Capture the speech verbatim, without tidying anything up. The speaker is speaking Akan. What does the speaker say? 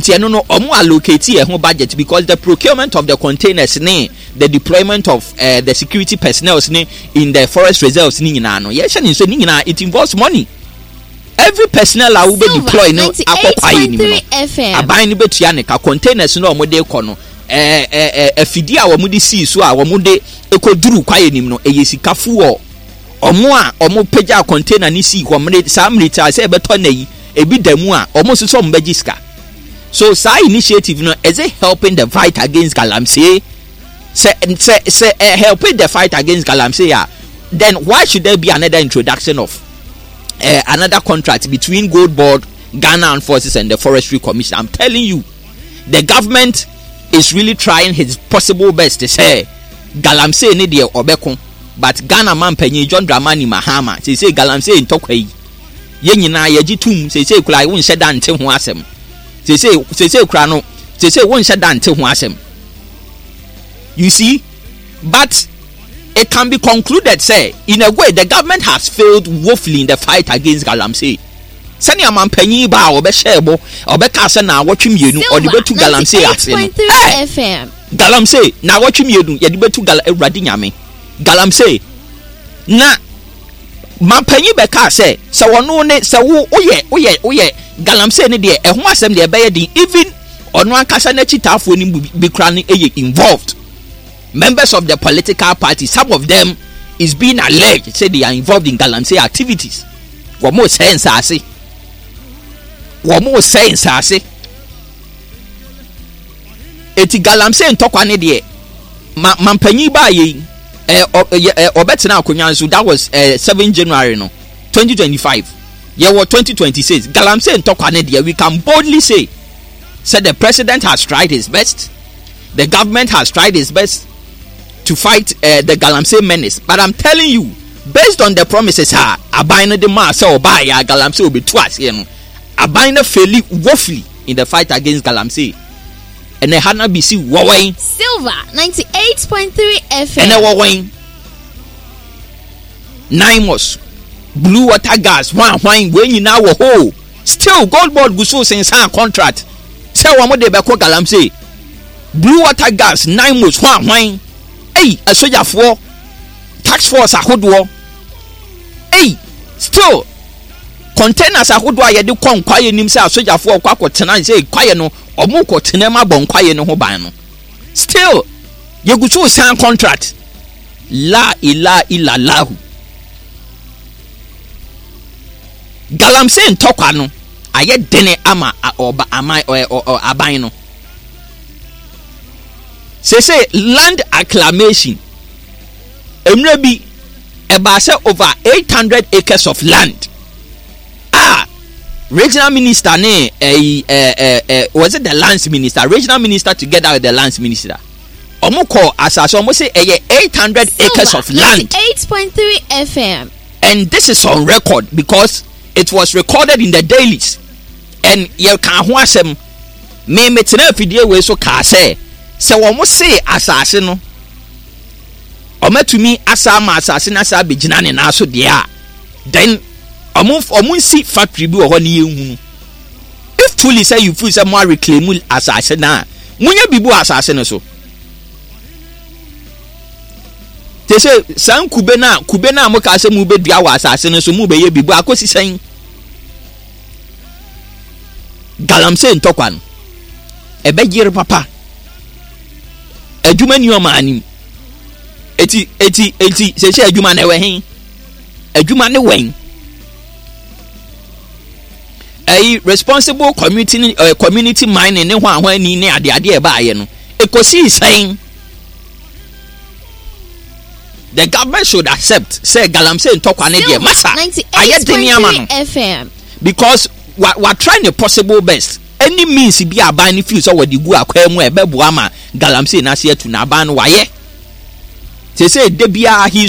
Eti ɛno no, ɔmo allocate ɛho budget because the procurement of the containers ne the deployment of uh, the security personnel ne in the forest reserves ne nyinaa no, yɛhyɛ ne nso ne nyinaa, it involves money. Every personnel a wobɛ deploy no akɔ kwaeɛ nim no, aban no bɛtua ne ka. Containers no a wɔde kɔ no, ɛɛ ɛɛ afidie a wɔde sii so a wɔde kɔduru kwaeɛ nim no, ɛyɛ sika fuɔ. Ɔmo a ɔmo pagya container ne sii hɔ mmere saa mmere a sɛ ɛbɛtɔ na yi ebi da mu a, ɔmo nso sɛ ɔmo bɛgye sika. So saa initiative no, is it helping the fight against galamsey? sɛ sɛ sɛ uh, helping the fight against galamsey a, then why should there be another introduction of uh, another contract between Gold Board, Ghana Armed Forces and the Forestry Commission? I'm telling you, the government is really trying his possible best to say galamsey ne deɛ ɔbɛko, but Ghana man panyin John Dramani Mahama sɛ galamsey ntɔkwa yi, yɛn nyinaa yɛgye tum sɛ kura wonhyɛ da nte ho asɛm. sese sese kura no, sese wonhyɛ da nte ho asɛm, you see. But it can be concluded say in a way the government has failed woefully in the fight against galamsey. Sɛnea mampanyin ba a ɔbɛhyɛ ɛbɔ, ɔbɛka sɛ na awɔtwe mmienu ɔde bɛtu galamsey ase no, ɛɛ galamsey na awɔtwe mmienu yɛde bɛtu gal, Awurade Nyame, galamsey. Na mampanyin bɛka sɛ sɛ wɔno ne sɛ wo woyɛ woyɛ woyɛ galamsey ne deɛ, ɛho asɛm deɛ ɛbɛyɛ den. Even ɔno ankasa n'akyitaafoɔ no bi kura no yɛ involved members of the political party. Some of them is being alleged say they are involved in galamsey activities. Wɔn mo sɛ nsaase, wɔn mo sɛ nsaase. Eti galamsey ntɔkwa ne deɛ, ma mampanyin baa yɛ yi, ɛɛ ɔ ɛ ɔbɛtena akonnwa nso, that was ɛɛ seven January no twenty twenty five, yɛwɔ twenty twenty six. Galamsey ntɔkwa ne deɛ, we can boldly say say the president has tried his best, the government has tried his best to fight uh, the galamsey menace. But I'm telling you, based on the promises a aban no de maa sɛ ɔbaa yɛ a galamsey obetu aseɛ no, aban no fail woefully in the fight against galamsey. Ɛnɛ ha na bisi wɔwɛn. Silver ninety-eight point three F M. Ɛnɛ wɔwɛn Naimos, Blue Water Gas, hwan hwan, wei nyinaa wɔ hɔ. Still Gold Board gu so sensan contract sɛ wɔn de bɛkɔ galamsey. Blue Water Gas, Naimos, hwan hwan, ɛyi asogyafoɔ, task force ahodoɔ, ɛyi still containers ahodoɔ a yɛde kɔ nkwaeɛ nim sɛ asogyafoɔ kɔ akɔtena sɛ kwaeɛ no, ɔmo kɔ tena mu abɔ nkwaeɛ no ho ban no, still yɛgu so san contract. La ilaha illallahu. Galamsey ntɔkwa no ayɛ dene ama ɔba ama ɔ ɔ aban no. Sese land acclamation, mmerɛ bi ɛbaa sɛ over eight hundred acres of land a regional minister ne ɛyi ɛɛ ɛɛ was it the lands minister, regional minister together with the lands minister, ɔmo kɔ asase, ɔmo sɛ ɛyɛ eight hundred acres of land. eight point three F M. And this is on record because it was recorded in the dailies and yɛ ka ho asɛm. Me metena afidie wei so kaa sɛ sɛ wɔn se asase no ɔmatumi asa ama asase no asa abɛgyina ne nan so deɛ a, then ɔmo ɔmo nsi factory bi wɔ hɔ ne yɛn hunu. If truly sɛ you feel sɛ mo areclaim asase na monyɛ biribi wɔ asase no so te sɛ saa nkube no a, kube no a mo kaa sɛ mo bɛdua wɔ asase no so, mo bɛyɛ biribi akɔsi sɛn? Galamsey ntɔkwa no ɛbɛyere papa. Adwuma ni ɔmo anim. eti eti eti sɛsɛ adwuma na ɛwɔ he? Adwuma ne wɛn? Ɛyi responsible community uh, community mining ne ho ahoa ani ne adeade ɛbaayɛ no, ekosi sɛn? The government should accept sɛ galamsey ntɔkwa ne deɛ, masa, ayɛ den ama no F M. because wa wa try the possible best. Any means bi aban no feel sɛ wɔde gu akwan mu a ɛbɛboa ma galamsey n'ase atu na aban no wayɛ sese de biara he